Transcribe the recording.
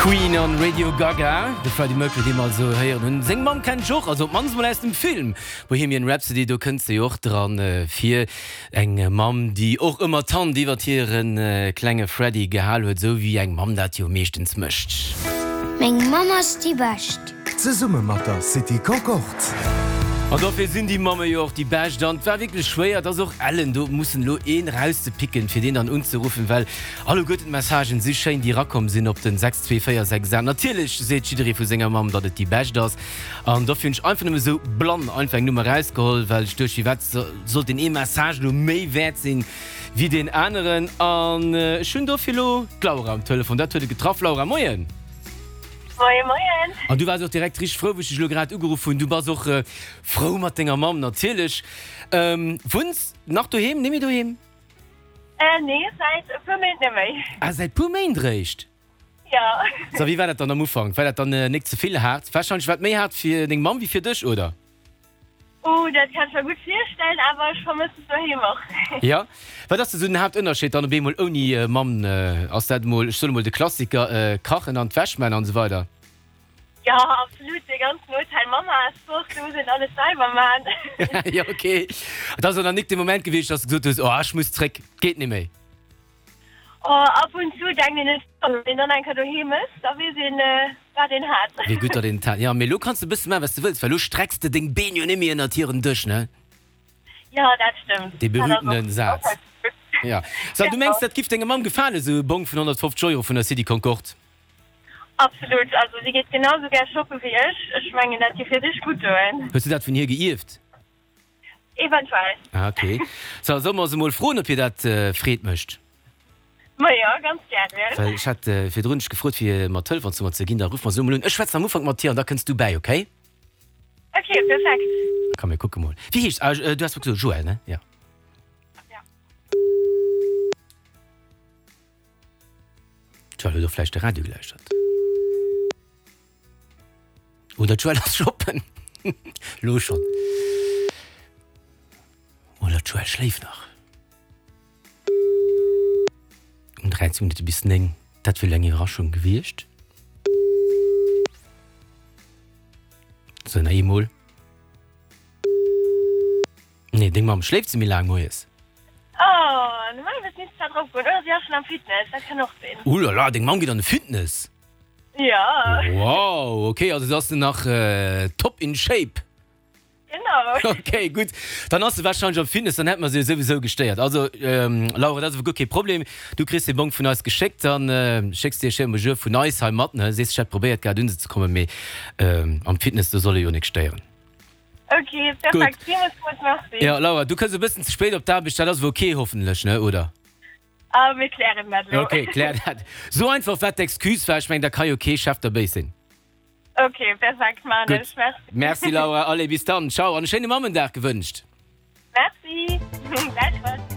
Queen on Radio Gaga, de Freddie Mercury, dee mer also héieren hunn. Seng Mamm kennt ech och, also op d'mannst mol aus dem Film Bohemian Rhapsody, do kënnt se jo och dran vir. Eng Mamm, déi och ëmmer d'Hand iwwert hire klenge Freddie gehal huet, esou wéi eng Mamm dat jo meeschtens mécht. Meng Mamm ass déi Bescht. Zesumme mat der City Concorde. An dofir sinn déi Mamme jo och déi Bescht. An et war wierklech schwéier, et ass och ellen do mussen elo een erauszepicken, fir deen dann unzeruffen, well alleguerten d'Messagen si schéin, déi erakomm sinn op den 62468. Natierlech seet jidderee vu senger Mamm, datt et déi Bescht ass. An dofir hunn ech einfach nëmme sou blann einfach eng Nummer erausgeholl, well ech duecht, firwat sollt deen ee Message elo méi wäert sinn wéi deen aneren? An ech hunn dofir elo d'Laura um Telefon. Dat huet et getraff. Laura, moien! Moien, moien. An du waars och direkt richteg frou, wou ech dech elo grad ugeruff hunn. Du bass och frou mat denger Mamm natierlech. Wunns nach doheem? Net méi doheem? Nee, säit e puer Méint net méi. Ah, säit puer Méint eréischt? Jo. So, wéi war dat dann am Ufank? War dat dann nik ze vill haart? Warscheinlech war et méi haart fir deng Mamm wéi fir dech, oder? Oh, dat kann ech mer gutt virstellen, awer ech vermëssen doheem och. Jo, wat ass esou den Haaptënnerscheed dann op eemol ouni Mamm? Ass dat emol, ech soen emol de Klassiker, kachen an d'Wäsch man an esou weider? Jo, absolut, dee ganzen Hotel Mamma ass fort, do muss een alles selwer man. Jo, ok. Et ass dann nik de Moment gewiescht, dass de gesot hues, oh ech muss zréck, geet net méi? Oh, ab und zu denkt een et schonn, wann een dann eng Kéier doheem ass, da weess een, wat een hat. Wéi gutt, datt een et hat. Jo, mee elo kanns de e bësse maachen, wat s de wëlls, well elo strecks de deng Been jo net méi ënnert hiren Dësch, ne? Jo, dat stëmmt. Dee berühmtene Saz. Jo. So, du mengs, dat giff denger Mamm gefalen, esou e Bong vun 150 Euro vun der City Concorde? Absolut. Also, si geet genau esou gär shoppe wéi ech. Ech mengen, dat giff hir richteg gutt doen. Hues du dat vun hir geierft? Eventuell. Ah, ok. So, solle mer se mol froen, ob hir dat Freed mécht? Ma jo, ganz gären. Well ech hat virdrun dech gefrot, fir mer d'Telefonznummer ze ginn. Da ruffe mer se elo mol un. Ech schwätzen am Ufank mat hir an da kënns du bäi, ok? Ok, perfekt. Komm, mir kucke mol. Wéi heescht se? Ah, du has mer gesot, Joëlle, ne? Jo. Ja. D'Joëlle huet och vläicht de Radio gelauschtert. Oder d'Joëlle ass shoppen. Lo schonn. Oder d'Joëlle schléift nach. Um 13 Minutte bis 9. Dat wier elo eng Iwwerraschung gewiescht. Sou, nach eemol. Nee, deng Mamm, schléift se méi laang moies? Oh, normalerweis misst se zwar drop goen. Oder si ass schonn am Fitness, dat kann och sinn. Oulala, deng Mamm geet an de Fitness? Ja. Wow, ok, also ass se nach top in shape. Genau. Ok, gutt, dann ass se warscheinlech am Fitness, dann hätte mer se jo souwisou gestéiert. Also Laura, dat ass awer guer kee Problem, du kriss dee Bong vun eis geschéckt, dann schécks de e schéine Bonjour vun eis hei mat, ne? Sees, ech hätt probéiert gehat unzekommen, mee am Fitness, do soll e jo nik stéieren. Ok, perfekt, villmools merci. Jo Laura, du kënns e bëssen ze spéit op d'Aarbecht, dat ass awer ok hoffentlech, ne, oder? Ah, mir klären dat elo. Ok, klär dat. Sou einfach wat d'Excuse war, ech mengen da ka jo kee Chef der béis sinn. Ok, perfekt, maan ech. Merci. Merci Laura, allez bis dann, ciao an e schéine Mammendag gewënscht. Merci, gläichfalls.